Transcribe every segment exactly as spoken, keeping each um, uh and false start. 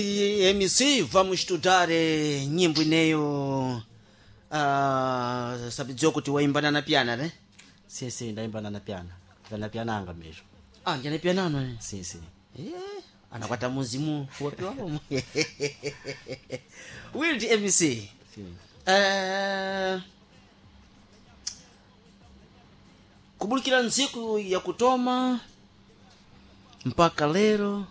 M C, vamos estudar eh, nyimbo ineyo uh, sabidziwa kuti waimbana na piana ne? Sim, sim, ndaimbana na piana. Na piana anga mesmo. Ah, njane pianano eh? Sim, sim. Eh, anakwata muzimu wapiwawo Wild M C. Sim. Eh, kubulikira ntsiku ya kutoma mpaka lero,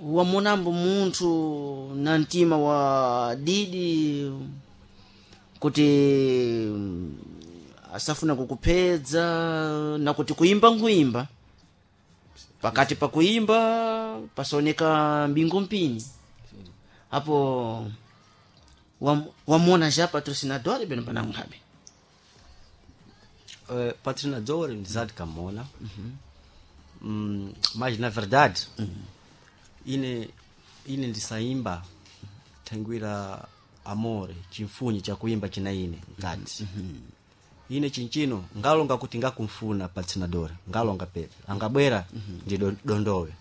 wamonambo munthu na mtima wa didi kuti mm, asafuna kukuphedza na kuti kuimba nkuimba, pakati pa kuimba pasaoneka mbingu mpini apo wam- wamona já patrocinador beno panamukhabe? Uh, patrocinador ndizati kamona, mm, mas na verdade ine ine ndisaimba thangwira amore chimfunyi chakuimba china ine ngati ine chinchino ngalonga kuti ngakumfuna patrocinador, ngalonga pepe angabwera ndi do- dondowe.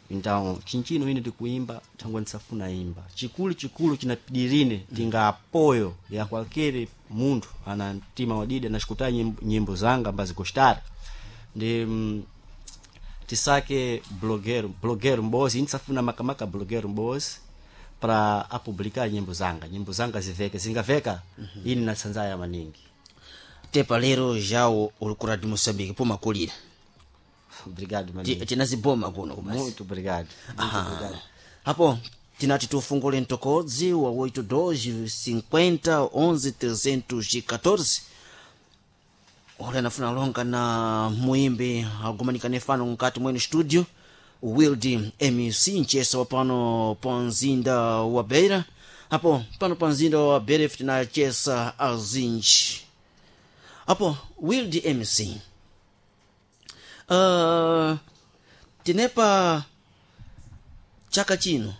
Então chinchino ine ndikuimba thangwe ndisafuna imba chikulu chikulu chinapidirine tinga apoyo ya qualquer munthu ana mtima wadidi anasikuta nyimbo, nyimbo zanga ambazigostara ndi mm, tisake blogueiro blogueiro mbozi. Indisafuna makamaka blogueiro mbozi para apublicar nyimbo zanga, nyimbo zanga ziveke, zingaveka ini natsanzaya maningi. Tepa lero jawo uli ku Radio Moçambique pomakulira. Obrigado Ti- maningi. Tinaziboma kuno kubasi. Muito obrigado, muito Aha. obrigado. Apo tinati tufungule mtokodzi wa oito dois cinquenta onze trezentos e catorze. Ule anafuna longa na muimbi agumanikane fano mkati mwenu studio, Wild M C, mchesa wa pano pa mzinda wa Beira. Apo pano pa mzinda wa Beira ife tinachesa azinji. Apo Wild M C, uh, tinepa chaka chino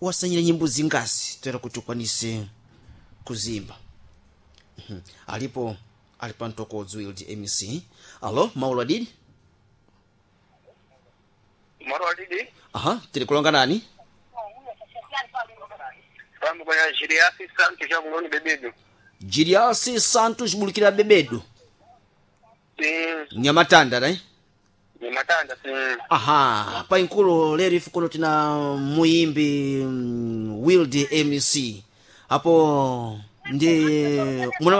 wasanyira nyimbo zingasi toera kuti ukwanise kuzimba? Mhm. Alipo ali pa mtokodzi Wild M C. Alo, maulo adidi? Moro adidi. Aha, tiri kulonga nani? Pambo kwenye Jiriasi Santos ya kuloni Bebedu. Jiriasi Santos bulikira Bebedu? Sim. Nyamatanda ne? Ni matanda, sim. Aha, painkulo lero ife kuno tina muimbi mm, Wild M C. Apo ndi muna